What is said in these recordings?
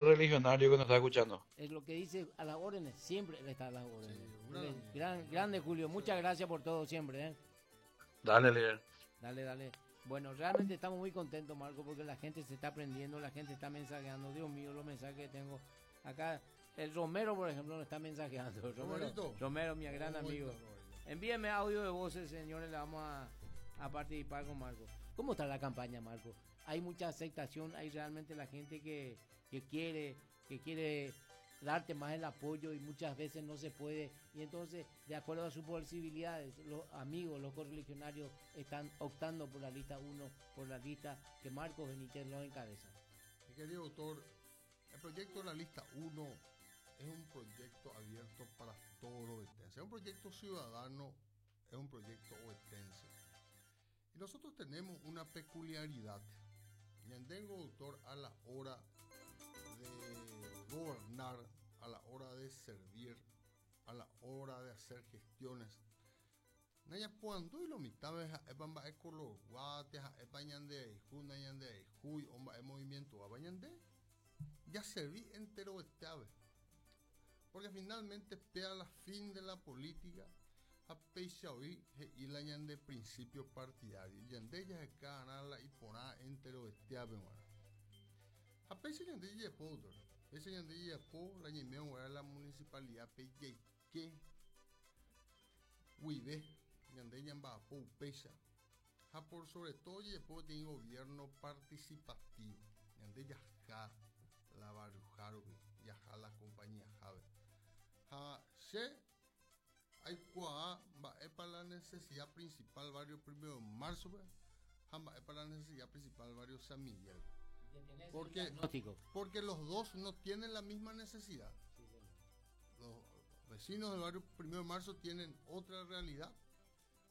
Religionario que nos está escuchando. Es lo que dice a las órdenes, siempre él está a las órdenes. Gran, grande Julio, muchas gracias por todo siempre. ¿eh? Dale, líder. Dale, dale. Bueno, realmente estamos muy contentos, Marco, porque la gente se está aprendiendo, la gente está mensajeando. Dios mío, los mensajes que tengo acá. El Romero, por ejemplo, nos está mensajeando. Romero, Romero mi gran amigo. Envíeme audio de voces, señores, le vamos a, a participar con Marco. ¿Cómo está la campaña, Marco? Hay mucha aceptación, hay realmente la gente que, que quiere, que quiere darte más el apoyo y muchas veces no se puede. Y entonces, de acuerdo a sus posibilidades, los amigos, los correligionarios están optando por la lista 1, por la lista que Marcos Benítez lo encabeza. Mi querido doctor, el proyecto de la lista 1 es un proyecto abierto para todos los ovetenses. Es un proyecto ciudadano, es un proyecto ovetense. Y nosotros tenemos una peculiaridad. Ñandengo, doctor, a la hora de gobernar, a la hora de servir, a la hora de hacer gestiones. Naya cuando y lo mitad epa e color guate epa ñande ju ñande ju omba e movimiento abañande ya serví entero este ave. Porque finalmente pea la fin de la política a peixa hoy y la ñande principio partidario. Ñande ya se la y porá entero este ave A peixa ñande ya po doctor. Peixa ñande ya po la ñemeo la municipalidad pe que huibe ñande ñamba po peixa. Ja por sobre todo ya po tiene gobierno participativo. Ñande ya ja la barrio ya ja la compañía jave. Ja se hay cuá va es para la necesidad principal barrio 1 de marzo, ja va es para la necesidad principal barrio San Miguel. Porque, porque los dos no tienen la misma necesidad. Los vecinos del barrio 1 de marzo tienen otra realidad.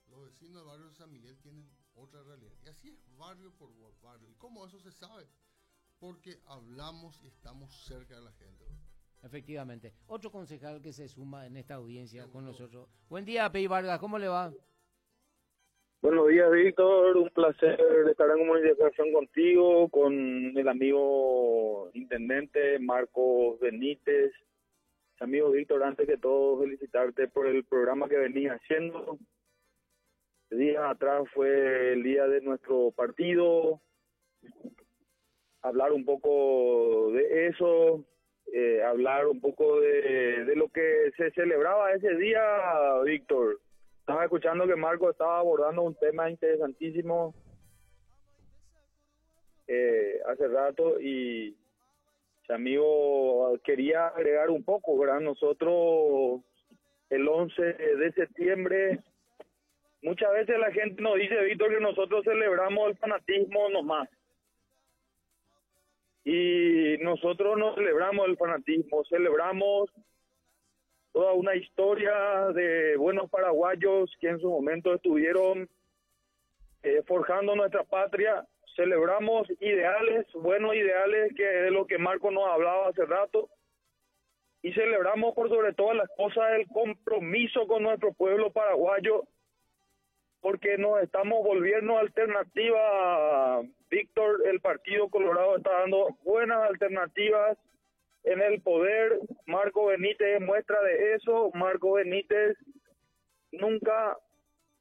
Los vecinos del barrio San Miguel tienen otra realidad. Y así es barrio por barrio. ¿Y cómo eso se sabe? Porque hablamos y estamos cerca de la gente. Efectivamente. Otro concejal que se suma en esta audiencia con nosotros. Buen día, Pei Vargas, ¿cómo le va? Buenos días, Víctor. Un placer estar en comunicación contigo, con el amigo intendente Marcos Benítez. Amigo Víctor, antes que todo, felicitarte por el programa que venís haciendo. Días atrás fue el día de nuestro partido. Hablar un poco de eso, hablar un poco de lo que se celebraba ese día, Víctor. Estaba escuchando que Marco estaba abordando un tema interesantísimo hace rato y su amigo quería agregar un poco, ¿verdad? Nosotros el 11 de septiembre, muchas veces la gente nos dice, Víctor, que nosotros celebramos el fanatismo nomás. Y nosotros no celebramos el fanatismo, celebramos toda una historia de buenos paraguayos que en su momento estuvieron forjando nuestra patria. Celebramos ideales, buenos ideales, que es de lo que Marco nos hablaba hace rato. Y celebramos por sobre todas las cosas el compromiso con nuestro pueblo paraguayo, porque nos estamos volviendo alternativa. Víctor, el Partido Colorado está dando buenas alternativas en el poder. Marco Benítez es muestra de eso. Marco Benítez nunca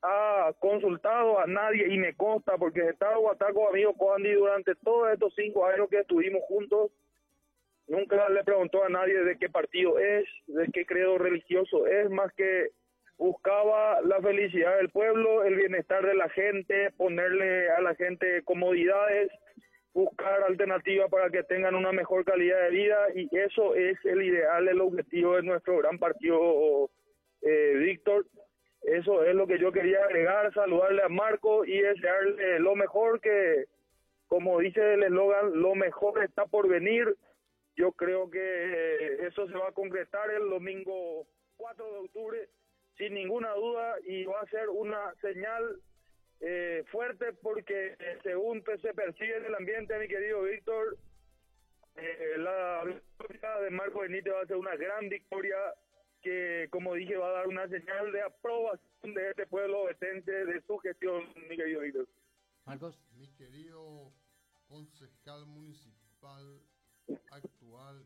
ha consultado a nadie, y me consta porque he estado guataco amigo Coandi durante todos estos 5 años que estuvimos juntos. Nunca le preguntó a nadie de qué partido es, de qué credo religioso es, más que buscaba la felicidad del pueblo, el bienestar de la gente, ponerle a la gente comodidades, buscar alternativas para que tengan una mejor calidad de vida, y eso es el ideal, el objetivo de nuestro gran partido, Víctor. Eso es lo que yo quería agregar, saludarle a Marco y desearle lo mejor, que como dice el eslogan, lo mejor está por venir. Yo creo que eso se va a concretar el domingo 4 de octubre, sin ninguna duda, y va a ser una señal fuerte, porque según se percibe en el ambiente, mi querido Víctor, la victoria de Marco Benítez va a ser una gran victoria que, como dije, va a dar una señal de aprobación de este pueblo ovetense, de su gestión, mi querido Víctor. Marcos. Mi querido concejal municipal actual.